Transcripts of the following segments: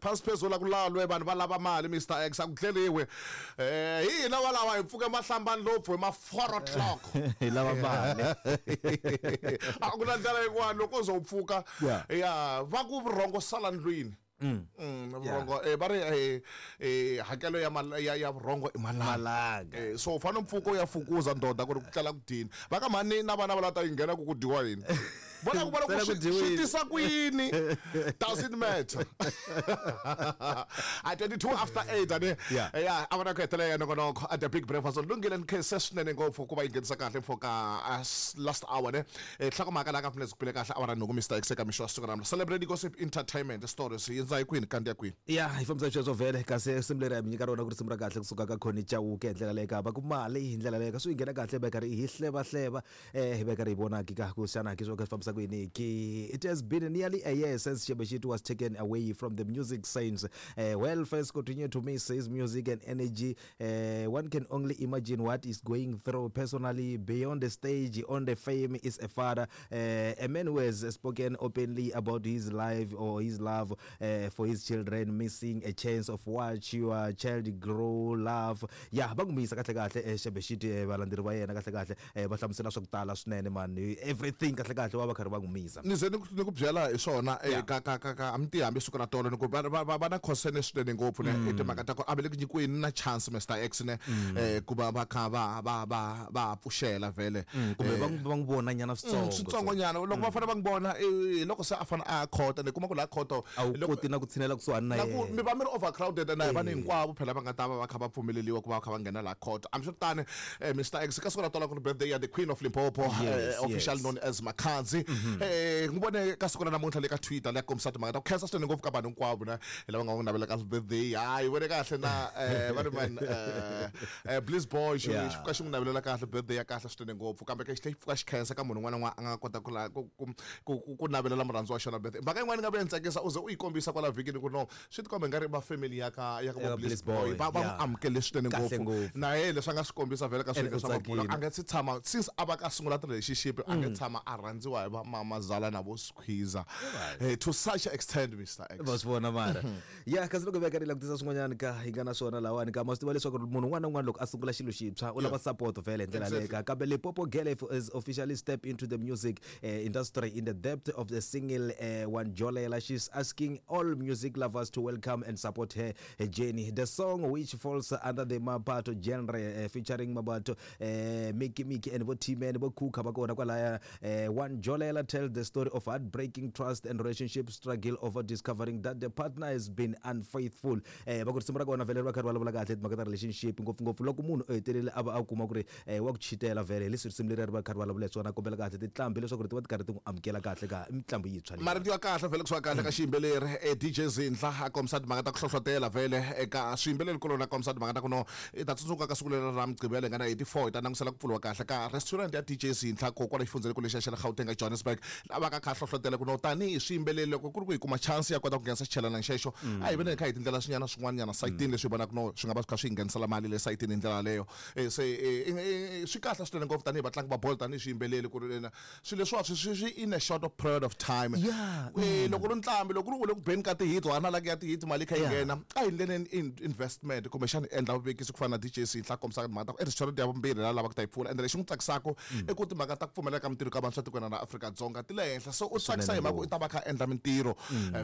Phasi phezulu a ku lalwe vanhu va lava mali Mr X a ku tleriwi. Hi hina valava hi pfuke mahlambani lopfu hi ma 4 o'clock. Hi lava mali. A ku na ndlela yin'wana loko u ze u pfuka ya va ku vurhongo sala ndlwini. Vurhongo va ri hakelo ya ya ya vurhongo i malanga. Malanga. So u fanele u pfuka u ya fukuza ndoda ku ri ku tlela ku dyini. Va ka mhani na vana va lava ta yi nghena ku ku dyiwa yini. Vona ku vona ku swi tisa ku yini doesn't matter. At 22 after 8 ane ya a vona ku hetelela ya nongonoko at the big breakfast lunghile ni khense swinene ngopfu ku va yi nghenisa kahle mfo ka last hour ne nhlokomhaka laha ka pfuneza ku pile kahle awara nhungu Mr X eka mixo wa siku ra Celebrity Gossip Entertainment Stories yi ndza hi kwini kanti ya kwini ya hi fambisa sweswo vhele kasi risimu leri hi mi nyika rona ku risimu ra kahle kusuka ka Connie Chauke hi ndlela leyi ka va ku mali hi ndlela leyi ka swi yi nghena kahle va karhi hi hleva hleva hi va karhi hi vona ki ka ku xana ki swo ka swi fambisa ku yini ki. It has been nearly a year since Shebeshxt was taken away from the music scenes. Well, fans continue to miss his music and energy. One can only imagine what is going through personally beyond the stage. On the fame is a father, a man who has spoken openly about his life or his love for his children, missing a chance of watch your child grow love. Ya va n'wi misa kahle kahle Shebeshxt, valandzeri va yena kahle kahle va hlamusela swa ku tala swinene man, everything kahle kahle va va karhi va n'wi misa. Ni ze ni ku ni ku byela hi swona ka ka ka ka a mi tivi hambi siku ra tolo ni ku va va va va na concern swinene ngopfu ne i timhaka ta ku a va le ku nyikiweni na chance Mister X ne ku va va kha va va va va pfuxela vhele. Kumbe va va n'wi vona nyana switsongo switsongo nyana loko va fanele va n'wi vona hi loko se a fanele a ya khoto ni kuma ku laha khoto a wu koti na ku tshinela kusuhani na na ku mi va mi ri overcrowded na hi vanhu hinkwavo phela va nga ta va va kha va pfumeleliwa ku va va kha va nghena laha khoto. Hambiswiritano Mister X ka siku ra tolo ku ri birthday ya the Queen of Limpopo, officially known as Makhadzi. N'wi vone ka siku ra namuntlha le ka Twitter leyi kombisa timhaka ta ku khensa swinene ngopfu ka vanhu hinkwavo na lava nga n'wi navelaka birthday. Hayi vone kahle na va ri man Bliss Boy xi xi pfuka xi n'wi navelela kahle birthday ya kahle swinene ngopfu kambe ke xi tlhela xi pfuka xi khensa ka munhu un'wana na un'wana a nga kota ku ku ku ku ku navelela murhandziwa wa xona birthday. Mhaka yin'wana yi nga vuya ni tsakisa u ze u yi kombisa kwala vhikini ku no swi tikomba ingari va family ya ka ya ka vo Bliss Boy va va n'wi amukele swinene ngopfu na yena leswi a nga swi kombisa vhele ka swilo swa mabulo a nga se tshama since a va ka sungula ti-relationship a nga tshama a rhandziwa hi va mamazala na vo squeezer to such extent Mister X. Va swi vona mara ya kasi loko veka ni langutisa swin'wanyana ka hi nga na swona lawani ka ma swi tiva leswaku munhu un'wana na un'wana loko a sungula xilo xintshwa u lava support vhele hi ndlela leyo ka kambe Limpopo Girl is officially step into the music industry in the depth of the single Wanjolela. She's asking all music lovers to welcome and support her journey. The song, which falls under the Mabato genre, featuring Mabato, Mickey Mickey and bo T-Man, bo Kuka ba kona kwalaya, Wanjolela tells the story of heartbreaking trust and relationship struggle over discovering that the partner has been unfaithful. Va ku risimu ra kona vhele ri va kha ri vulavula kahle timhaka ta relationship ngopfungopfu loko munhu u hetelele a va a kuma ku ri wa ku chitela vhele hi leswi risimu leri ri va kha ri vulavula hi swona kombela kahle tinqambi leswaku ri ti va ti karhi ti n'wi amukela kahle ka mitlambu yintshwa leyi. Marito ya kahle vhele kusuka kahle ka xiyimbeleri DJ Zindla a kombisa timhaka ta ku hlohlotela vhele eka swiyimbeleri kuloni a kombisa timhaka ta ku no i ta tsundzuka ka siku leri ra Mugqivela hi nga na 84 hi ta langutisela ku pfuriwa kahle ka restaurant ya DJ Zindla ko kwala xifundzhenikulu lexiya xa le Gauteng ka Johannesburg laha va ka kha a hlohlotela ku no tanihi swiyimbeleri loko ku ri ku hi kuma chance ya kota ku nghenisa xichelana xexo a hi veni hi kha hi tindlela swinyana swin'wana nyana sayitini leswi hi vonaka no swi nga va swi kha swi hi nghenisela mali le sayitini hi ndlela yaleyo. Se swi kahle swinene ngopfu tanihi vatlangi va bolo tanihi swiyimbeleri ku ri swilo leswiwa swi swi swi in a short period of time. Loko ri ntlambi loko ri u le ku beni ka ti-hit wa na like ya ti-hit mali yi kha yi nghena a hi ndleleni investment kumbexana hi endla vuvekisi ku fana na DJ Sihla a kombisaka timhaka ta ku i restaurant ya vumbirhi la lavaka ku ta yi pfula ende lexi n'wi tsakisaka i ku timhaka ta ku pfumeleka ka mintirho ka vantshwa tikweni ra Afrika-Dzonga ti le henhla so u tsakisa hi mhaka ku i ta va a kha a endla mintirho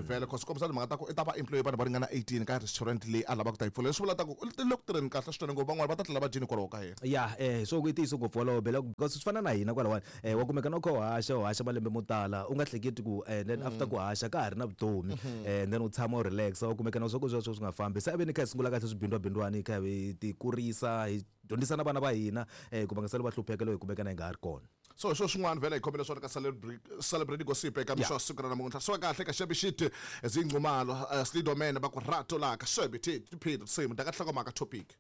vhele cause kombisa timhaka ta ku i ta va employ vanhu va ringana 18 ka restaurant leyi a lavaka ku ta yi pfula leswi vulaka ku u le ku tirheni kahle swinene ngopfu van'wana va ta tlela va dyini hikwalaho ka yena. Ya so i ntiyiso ngopfu wolowo Bela because swi fana na hina kwalawani wa kumeka na u kha u haxa u haxa malembe mo tala u nga hleketi ku then after ku haxa ka ha ri na vutomi then u tshama u relax wa kumeka na swa ku sweswo swi nga fambi se a ve ni kha hi sungula kahle swibindwabindwani hi kha hi ti kurisa hi dyondzisa na vana va hina ku va nga sali va hlupheka loko hi kumeka na hi nga ha ri kona. So hi swo swin'wana vhele hi khomele swona ka celebrity gossip eka mixo wa siku ra namuntlha swi va kahle ka xebixiti zinqumalo slidoman va ku rato la ka xebiti tiphilo risimu ta ka nhlokomhaka topic.